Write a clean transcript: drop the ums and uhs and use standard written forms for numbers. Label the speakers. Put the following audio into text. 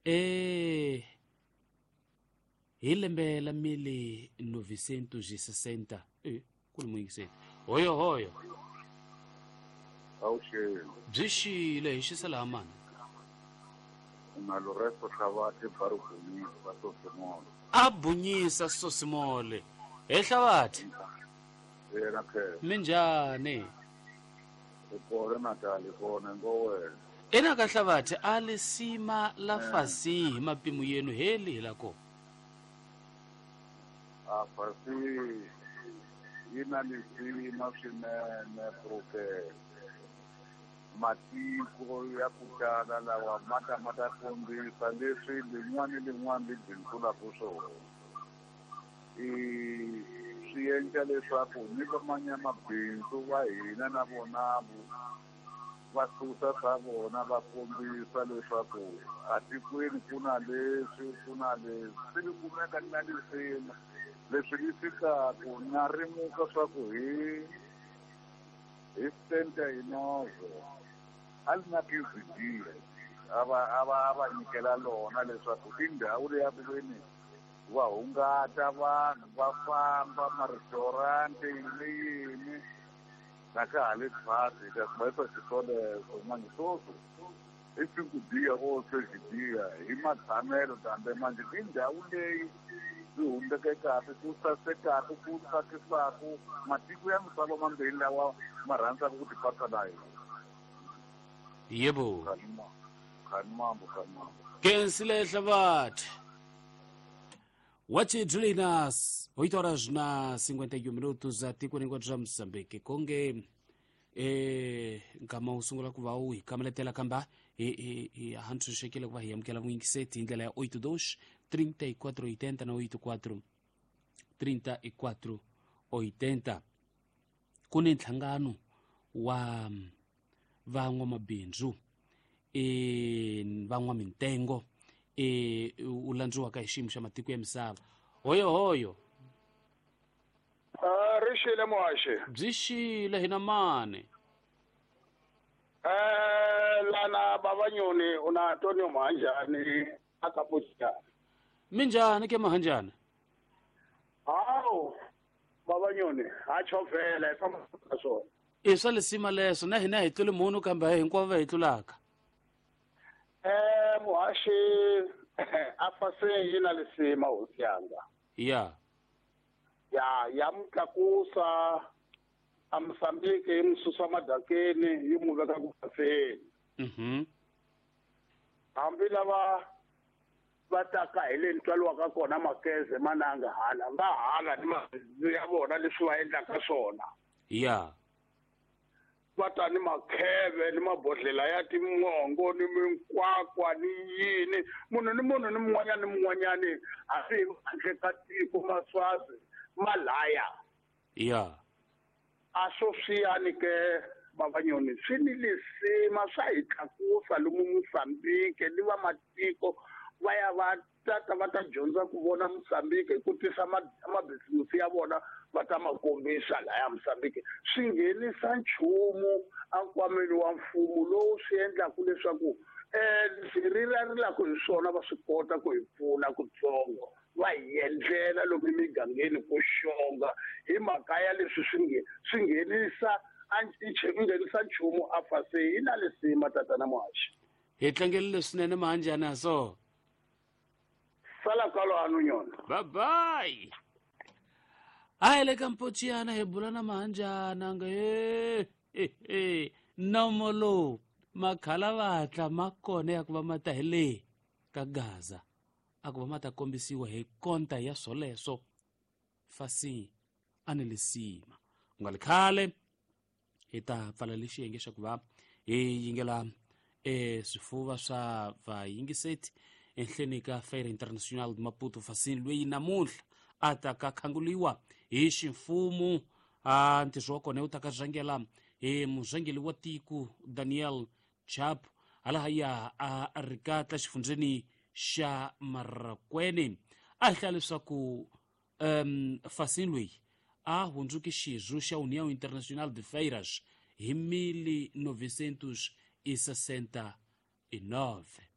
Speaker 1: E hi lembe la 1960 e ku ni muyingiseri hoyo hoyo.
Speaker 2: Awuxeni.
Speaker 1: Byi xile hi xisa laha mani.
Speaker 2: Na Loresto Hlavathe Barubunisa Sosimole.
Speaker 1: A bunyisa Sosimole. He Hlavathe.
Speaker 2: Yena phela.
Speaker 1: Minjhani?
Speaker 2: Hi kona Natal, hi kona ngo wena.
Speaker 1: Ena ka Hlavathe a lisima la fasi hi mapimo yenu heli hi la ko.
Speaker 2: A fasi yi na lisima swinene Brooke. Matiko ya ku tala lawa ma ta ma ta kombisa leswi lin'wana ni lin'wana li bindzulaka swona. I swi endla leswaku ni vamanyamabindzu va hina na vona va susa swa vona va kombisa leswaku atikweni ku na leswi ku na leswi swi li kumeka ni na lisima leswi li fikaku na rimuka swa ku hi hi 79 a li na PVD a va a va a va nyikela lona leswaku i ndhawu leya ku veni va hungata vanhu va famba ma-restaurant yini yini na ka ha le phasi hi ta swi xiswoleswo manje sweswi i cinco dia or seis dia hi matshamelo kambe manje i ndhawu leyi yi humbekekaku ku sasekaku ku tsakisaku matiko ya misava mambirhi lawa ma rhandzaka ku tipatsa na hina.
Speaker 1: Yebo.
Speaker 2: Khanimambo khanimambo.
Speaker 1: Kensile Hlavathe. Wachidlinas 8 horas na 51 minutos atikweni hinkwabyo ra Mozambique konge e nkama wu sungula ku va wu hi kameletela kamba hi hi hi ha ntshunxekile ku va hi amukela vuyingiseti hi ndlela ya 82 34 80 na 84 34 80. Ku ni nhlangano wa van'wamabindzu e van'wamintengo e wu landziwaka hi xiyimo xa matiko ya misava. Hoyo hoyo.
Speaker 3: Ri xile muhaxi.
Speaker 1: Byi xile hina mani.
Speaker 3: Lana Babanyoni u na Antonio Mahanjani a ka Puchana.
Speaker 1: Minjhani ke Mahanjani?
Speaker 3: Hawu Babanyoni ha chovhela hi famba ka swona.
Speaker 1: I swa lisima leswo na hina hi tluli munhu kambe hinkwavo va hi tlulaka.
Speaker 3: Muhaxi a fase yi na lisima hosi yanga.
Speaker 1: Ya.
Speaker 3: Ya ya mutlakusa a Mozambique yi mu susa madakeni yi mu veka ku baseni. Hambi lava va taka hi le ntswalo ka kona makeze mananga hala va hala ni mabindzu ya vona leswi va endlaka swona.
Speaker 1: Ya.
Speaker 3: Va ta ni makheve ni mabodhlela ya timongo ni minkwakwa ni yini munhu ni munhu ni mun'wanyana ni mun'wanyani hambi handle ka tiko maswazi malaya.
Speaker 1: Ya.
Speaker 3: A swo swiyani ke Babanyoni swi ni lisima swa hi tlakusa lomu Mozambique ni va matiko va ya va tata va ta dyondza ku vona Mozambique ku tisa mabhizimusi ya vona va ta ma kombisa laya Mozambique swi nghenisa nchumu enkwameni wa mfumo lowu swi endlaku leswaku leswi rilarilaka hi swona va swi kota ku hi pfuna kutsongo va hi endlela lomu emigangeni ku xonga hi mhaka ya leswi swi swi nghenisa nghenisa nchumu a fase yi na lisima tatana muhaxi.
Speaker 1: Hi tlangelile swinene Mahanjani ha so.
Speaker 3: Sala kwalano nyona.
Speaker 1: Bye bye. A hi le ka Mpochiyana hi bula na Mahanjana nga he nomo lowu makhalavatla ma kona ya ku va ma ta hi le ka Gaza a ku va ma ta kombisiwa hi konta ya swoleswo fasi a ni lisima ku nga li khale hi ta pfala lexi xiyenge xa ku va hi yingela swifuva swa vayingiseti enhleni ka Feira Internacional de Maputo Fasini loyi namuntlha a ta ka khanguliwa hi ximfumo a ntirho wa kona wu ta ka rhangela hi murhangeri wa tiko Daniel Chapo halahaya a rikatla xifundzeni xa Marrakwene. A hi hlaya leswaku Fasini loyi a hundzuke xirho xa União Internacional de Feiras hi 1969.